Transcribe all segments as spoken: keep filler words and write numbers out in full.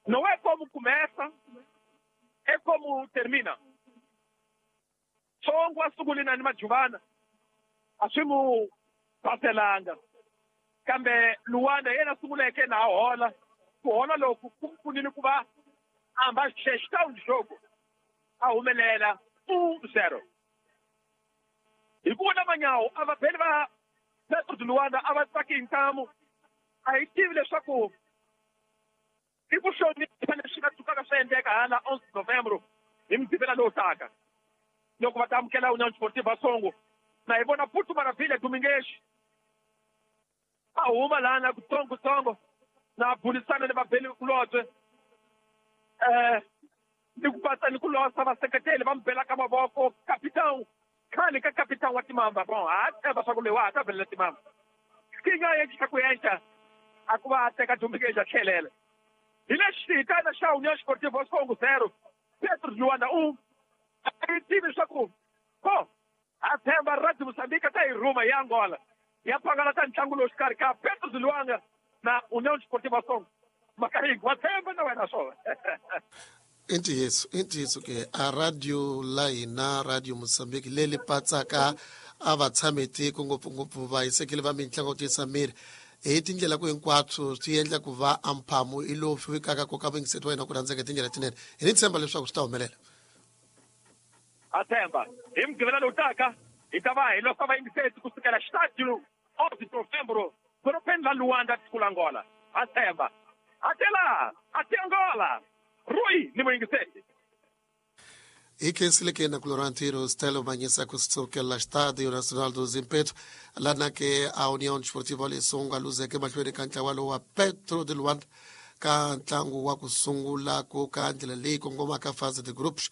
Não é como começa, é como termina. Songo asungulina ni Majuvana a swi mu paselanga kambe Luanda yena sunguleke na hola ku hola loku ku pfunile ku va amba gestão de jogo a humelela um zero. Hi ku vona Manyawu a va beli va Petro de Luanda a va tsaki hi ntamu a hi tivi leswaku i ku hlonipha leswi nga tsukaka swi endleka hala onze novembro hi Mugqivela lowu taka loko va ta amukela União Desportiva Songo. Na hi vona Putu Maravilha Domingues a huma lana kutsongotsongo na burisana ni vabeli kulobye eh ni ku patsa ni ku losa vaseketeli va mi belaka mavoko capitão khale ka capitão wa Timamba. Bon, a tshemba swa ku leyi wa ha ta belela Timamba xikinga yexi xa ku enca a ku va a teka Domingues a tlhelela hi lexi hitana xa União Desportiva Songo zero Petro de Luanda um. A yi tivi leswaku ko a tshemba Radio Moçambique ta hi rhuma hi Angola ya pangalata ntlangu lowu xikarhi ka Petro de Luanda na União Desportiva Songo. Makaringo wa tshemba na wena swona. I ntiyiso i ntiyiso ke a radio la hina Radio Moçambique leri patsaka a va tshami tiko ngopfungopfu vahisekeli va mitlangu tiyisa miri hi tindlela ku hinkwaswo swi endla ku va a mphamu i lowu fikaka koka vuyingiseti wa hina ku rhandzeka hi tindlela tinene. Hi ni tshemba leswaku swi ta humelela. A tshemba hi Mugqivela lowu taka hi ta va hi losa vayingiseti kusukela xitadio onze novembro dorobeni la Luanda tiko la Angola. A tshemba atela ate Angola Rui ni muyingiseti. Hi khensile ke na ku Laurentino Stelo Manyisa kusukela Estádio Nacional do Zimpeto lana ke a União Desportiva Lesongo a luzeke mahlweni ka ntlawa lowu wa Petro de Luanda ka ntlangu wa ku sungula ku ka ndlela leyi kongomaka fase de groups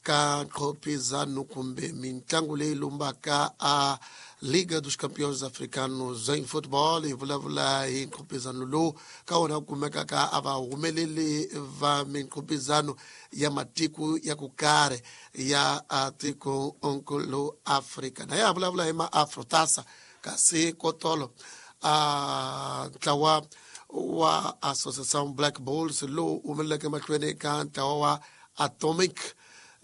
ka nqhopizano kumbe mintlangu leyi lumbaka a Liga dos Campeões Africanos em Futebol. Hi vulavula hi nqhopizano lowu ka wona ku kumekaka a va humeleli va minqhopizano ya matiko ya ku karhi ya tiko nkulu Afrika. Na ya vulavula hi ma-Afrotasa kasi kotolo a ntlawa wa Associação Black Bulls lowu humeleleke mahlweni ka ntlawa wa Atomic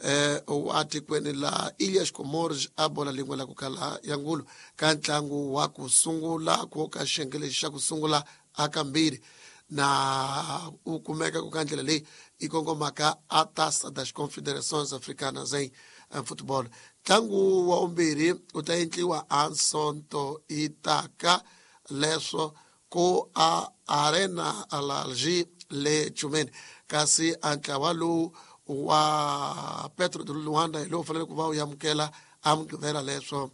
eh wa tikweni la Ilhas Comores a bola lin'we la ku kala ya ngulu ka ntlangu wa ku sungula ku ka xiyenge lexi xa ku sungula a kambirhi na u kumeka ku ka ndlela leyi yi kongomaka a Taça das Confederações Africanas em Futebol. Ntlangu wa vumbirhi u ta endliwa a Sonto itaka leswo ku a Arena Alalji le Chumeni kasi a ntlawa lowu wa Petro de Luanda hi lowu fanele ku va u amukela a Mugqivela leswo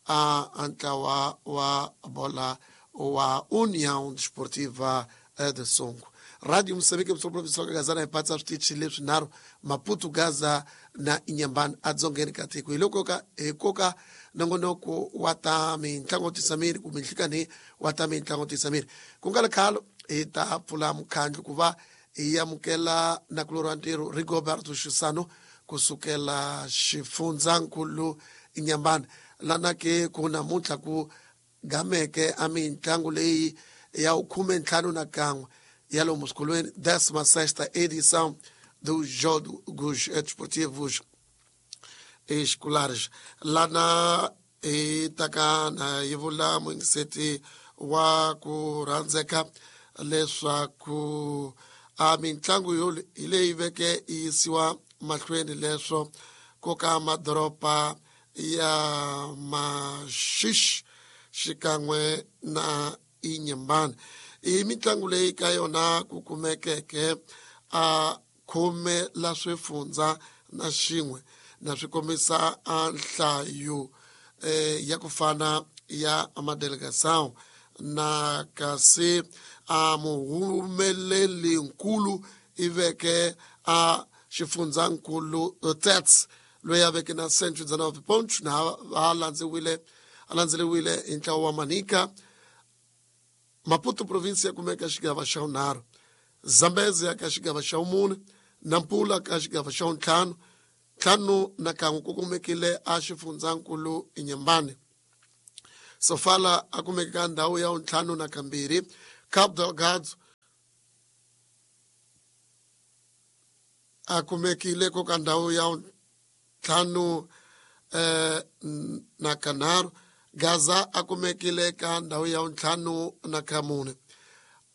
a ntlawa wa bola wa União Desportiva de Songo. Radio Moçambique msoproviswa gazana hi patsa switichi leswinharhu Maputo, Gaza na Inhambane adzongeni ka tiko. Hi loko ka hi koka nongonoko wa ta mintlangu tisa miri kumbe nhlikani wa ta mintlangu tisa miri ku nga ri khale hi ta pfula mukhandlu ku va hi amukela nakulorhi wa ntirho Rigoberto Xisano kusukela xifundzankulu Inhambane lana ke ku namuntlha ku gameke a mintlangu leyi ya khume ntlhanu na kan'we ya lomu swikolweni décima sexta edição dos Jogos Desportivos Escolares. Lana hi taka na yi vula muyingiseti wa ku rhandzeka leswaku a mintlangu yo hi leyi veke yi yisiwa mahlweni leswo ku ka madoroba ya Maxixe xikan'we na Inhambane. I mitlangu leyi ka yona ku kumekeke a khume la swifundza na xin'we na swi kombisa a nhlayo eh, ya ku fana ya madelegação na kasi a muhumeleli nkulu i veke a xifundzankulu Tets loyi a veke na cento e dezenove pontos na a landzeriwile a landzeriwile hi ntlawa wa Manica. Maputo província kumeka xigava xa vunharhu, Zambezi ka xigava xa vumune, Nampula ka xigava xa vuntlhanu, ntlhanu na kan'we ku kumekile a xifundzankulu Inhambane. Sofala a kumeka ka ndhawu ya vuntlhanu na kambirhi, Cabo Delgado a kumekile ko ka ndhawu ya ntlhanu eh, na kanharhu Gaza a kumekile ka ndhawu ya ntlhanu na kamune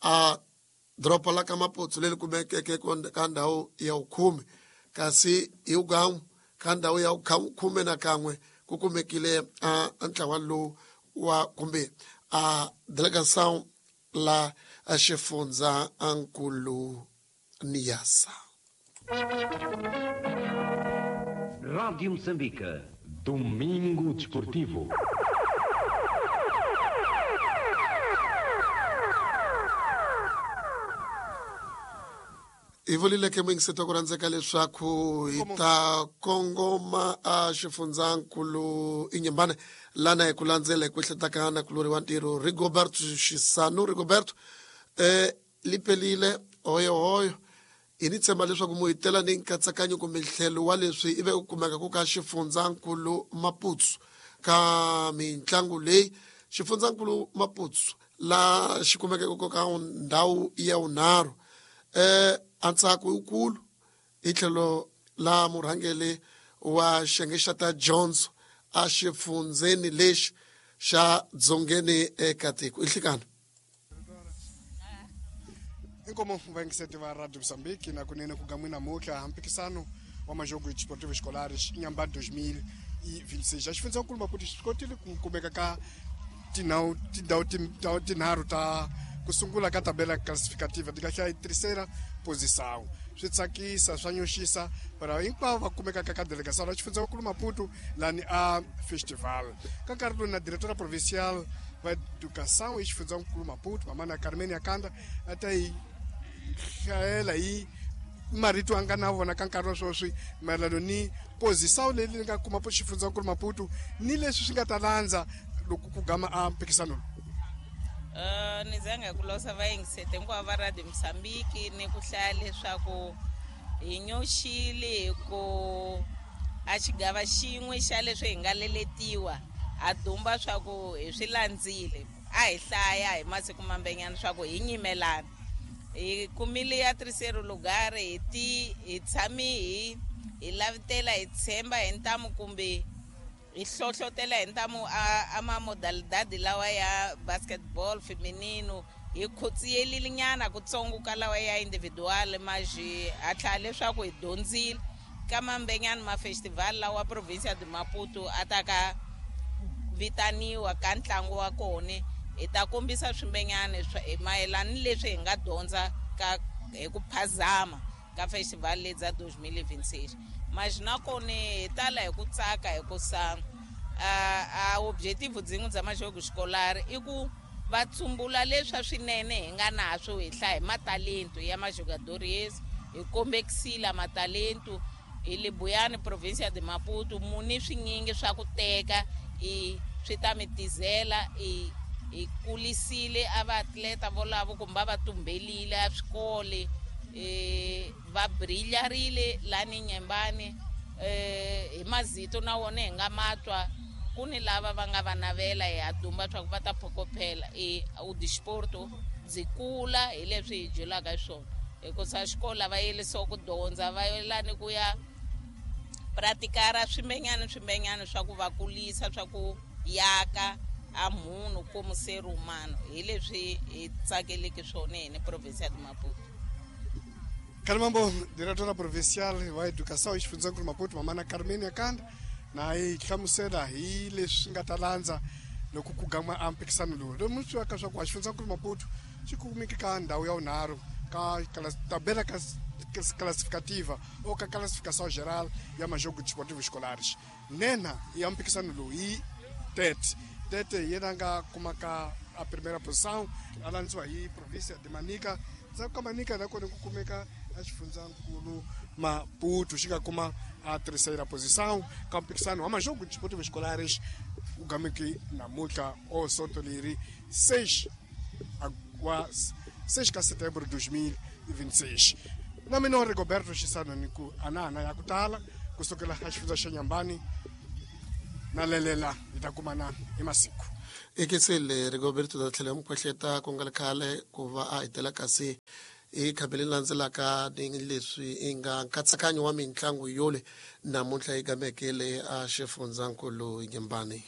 a doroba la ka Maputo leri kumekeke ka ndhawu ya khume kasi hi ugamu ka ndhawu ya khume na kan'we ku kumekile a ntlawa lowu wa kumbe a delegação la xifundza nkulu Niassa. Rádio Moçambique, Domingo Desportivo. Hi vulile muyingiseti ku rhandzeka leswaku hi ta kongoma a xifundzankulu Inhambane lana hi ku landzela hi ku ehletaka na kulori wa ntirho Rigoberto Xisanu. Rigoberto eh lipelile hoyohoyo hi ni tshemba leswaku mu hi tela ni nkatsakanyo kumbe ntlhelo wa leswi ivi ku kumeka ku ka xifundzankulu Maputo ka mitlangu leyi xifundzankulu Maputo la xi kumekeke ku ka ndhawu ya vunharhu eh antsako wukulu hi tlhelo la murhangeri wa xiyenge xa ta Jones a xifundzeni lexi xa dzongeni eka tiko ihlikana. Inkomo vayingiseti va Radio Moçambique na kunene ku gamwina namuntlha mpikisano wa majogo desportivo escolares Inhambane dois mil e vinte e seis. A xifundzankulu Maputo xi kotile ku kumeka ka tindhawu tindhawu tinharhu ta ku sungula ka tabela classificativa ti kahle terceira posição. Swi tsakisa swa nyoxisa para hinkwavo va kumekaka ka delegação la xifundzankulu Maputo lani a festival. Ka nkarhi lowu na diretora provincial va educação e xifundzankulu Maputo mamana Carmen Yakanda a ta hi hlayela hi marito a nga na vona ka nkarhi wa sweswi mayelano ni posição leyi ni nga kuma xifundzankulu Maputo ni leswi swi nga ta landza loko ku gama a mpikisano lowu. Uh, ni zanga ku losa vayingisete hinkwavo va Radio Moçambique ni ku hlaya leswaku hi nyoxile hi ku a xigava xin'we xa leswi hi nga leletiwa a dumba swa ku hi swi landzile a hi hlaya hi masiku mambenyana swa ku hi nyimelana hi kumile ya terceiro lugar hi ti hi tshami hi hi lavitela hi tshemba hi ntamu kumbe hi hlohlotela hi ntamu a, a ma modalidade lawa ya basketball feminino hi khotsiyelile nyana kutsongo ka lawa ya individual mas ha tlhela leswaku hi dyondzile ka mambenyana ma festival lawa provincia de Maputo a ta ka vitaniwa ka ntlangu wa kona hi ta kombisa swimbenyana mayelana ni leswi hi nga dyondza ka hi ku phazama ka festival leyi bya dois mil e vinte e seis. Mas nakona hi tala hi ku tsaka hi ku sa a a objetivo byin'we bya majogo escolar i ku va tsumbula leswa swinene hi nga naswo hi hlaya hi matalento ya majogadores hi kombekisile matalento hi le Buyani provincia de Maputo muni swinyingi swa ku teka i swi ta mi tizela i hi kulisile a vaatleta volavo kumbe va tumbelile a swikole eh va brilharile lani Inhambane eh hi mazito na wona hi nga matwa ku ni lava va nga va navela hi ha dumba swa ku va ta phokophela e o desporto byi kula hi leswi hi dyolaka swona hikusa xikolo va yelisiwa ku dyondza va yelani ku ya pratikara swimbenyana swimbenyana swa ku va kulisa swa ku yaka a munhu como ser humano hi leswi hi tsakeleke swona hi ni provincia de Maputo. Kalimambo, diretora provincial wa educação e xifundzankulu Maputo mamana Carmen Yakanda na hi hlamusela hi leswi nga ta landza loko ku gama a mpikisano lowu lomu swi ka swa ku xifundzankulu Maputo xi kumeke ka ndhawu ya vunharhu ka tabela classificativa ou ka classificação geral ya majogo desportivo escolares. Nena ya mpikisano lowu hi Tete Tete yena nga kuma ka a primeira posição a landziwa hi província de Manica. Ndzhaku ka Manica nakona ku kumeka a xifundzankulu Maputo xi nga kuma a terceira posição ka mpikisano wa majogo desportivo escolares u gameke namuntlha o sonto leri seis wa seis ka setembro dois mil e vinte e seis. Na mina Rigoberto Xisano ni ku anana ya ku tala kusukela a xifundza xa Inhambane na lelela hi ta kumana hi masiku. Ekesele Rigoberto da tlhela mu kwehleta ku nga ri khale ku va a hetela kasi I khambi leri landzelaka ni leswi i nga nkatsakanyo wa mitlangu yole namuntlha yi gamekele a xifundzankulu Nyembani.